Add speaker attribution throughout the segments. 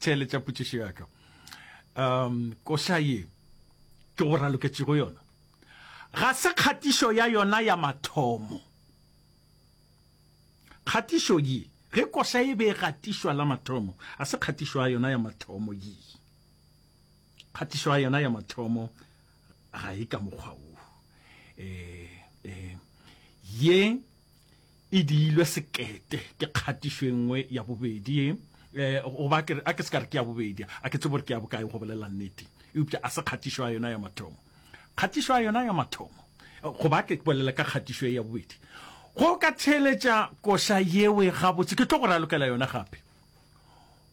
Speaker 1: Theeletša potšišo ya ka. Um, koša ye ke go raloketšego yona ga se kgatišo ya yona ya mathomo. Kgatišo ye, ge koša e be e gatišwa la mathomo, ga se kgatišo ya yona ya mathomo ye. Kgatišo ya yona ya mathomo ga e ka mokgwa wo. E, e, ye e diilwe sekete ke kgatišo e nngwe ya bobedi ye. E, goba ke re, a ke se ka re ke ya bobedi, a ke tsebe gore ke ya bokae go bolela nnete, eupša a se kgatišo ya yona ya mathomo. Kgatišo ya yona ya mathomo, goba ke bolele ka kgatišo ye ya bobedi, go ka theeletša koša yewe gabotse, ke tlo go ralokela yona gape.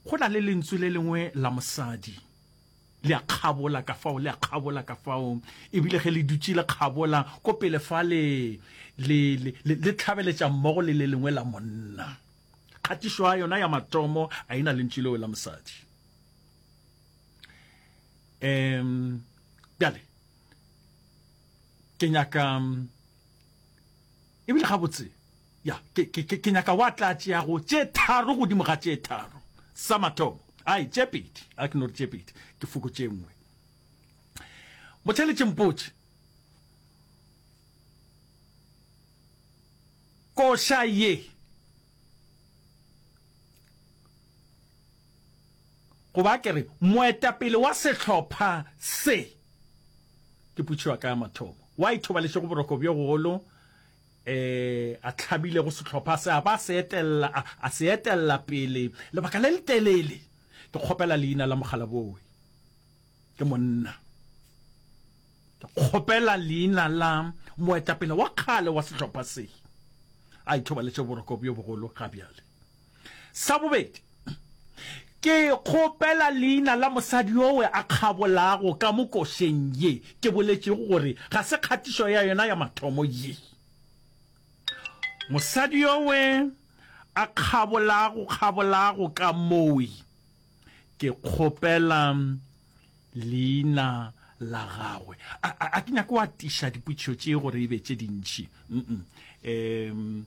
Speaker 1: Go na le lentswe le lengwe la mosadi, le a kgabola ka fao, le a kgabola ka fao, ebile ge le dutše le kgabola ko pele fa le, le, le, le, le tlhabeletša mmogo le le lengwe la monna. Kgatišo ya yona ya mathomo a e na lentšu leo la mosadi. Um, bjale, ke nyaka, ebile gabotse, ya, ke, ke, ke, ke nyaka wa tla tšeago tše tharo godimo ga tše tharo. Sa mathomo, ai, tše pedi, a ke no re tše pedi, ke fokotše e nngwe. Motheeletši mpotše, koša ye, goba ke re, moetapele wa sehlopha se, ke potšišo ya ka ya mathomo, wa ithobaletšego boroko bjo bogolo, e a hlabilego sehlopha se a ba a se etella, a, a se etella pele lebaka le letelele. Ke kgopela leina la mokgalaboowe. Ke monna. Ke kgopela leina la moetapele wa kgale wa sehlopha se a ithobaletše boroko bjo bogolo ga bjale. Sa bobedi, ke kgopela leina la mosadi yowe a kgabolago ka mo košeng ye ke boletšego gore ga se kgatišo ya yona ya mathomo ye. Mosadi yowe a kgabolago kgabolago ka mowe, ke kgopela leina la gagwe. A, a, a ke nyake go atiša dipotšišo tše gore e be tše dintši. Mm-mm. Um,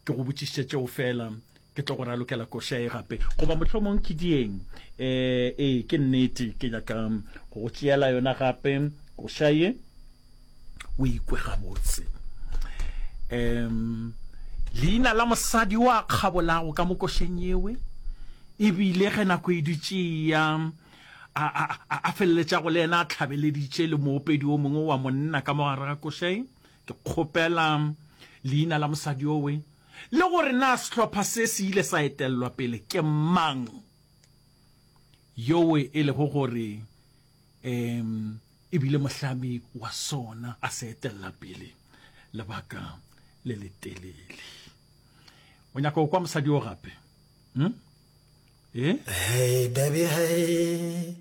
Speaker 1: Ke go botšišitše tšeo feela, ke tlo go ralokela koša ye gape. Goba mohlomong ke dieng? Ee, ee, ke nnete, ke nyaka go go tšeela yona gape koša ye, o ikwe gabotse. Um, leina la mosadi o a kgabolago ka mo košeng yewe, e bile ge nako e dutše e ya, a, a, a, a feleletšago le yena a hlabeleditše le moopedi o mongwe wa monna ka mo gare ga koša ye. Ke kgopela leina la mosadi yowe le gore na sehlopha se se ile sa etellwa pele ke mang yowe e lego gore um e bile mohlami wa sona a se etella pele lebaka le letelele. O nyaka go kwa mosadi yo gape? Hmm? Eh?
Speaker 2: Hey baby hey.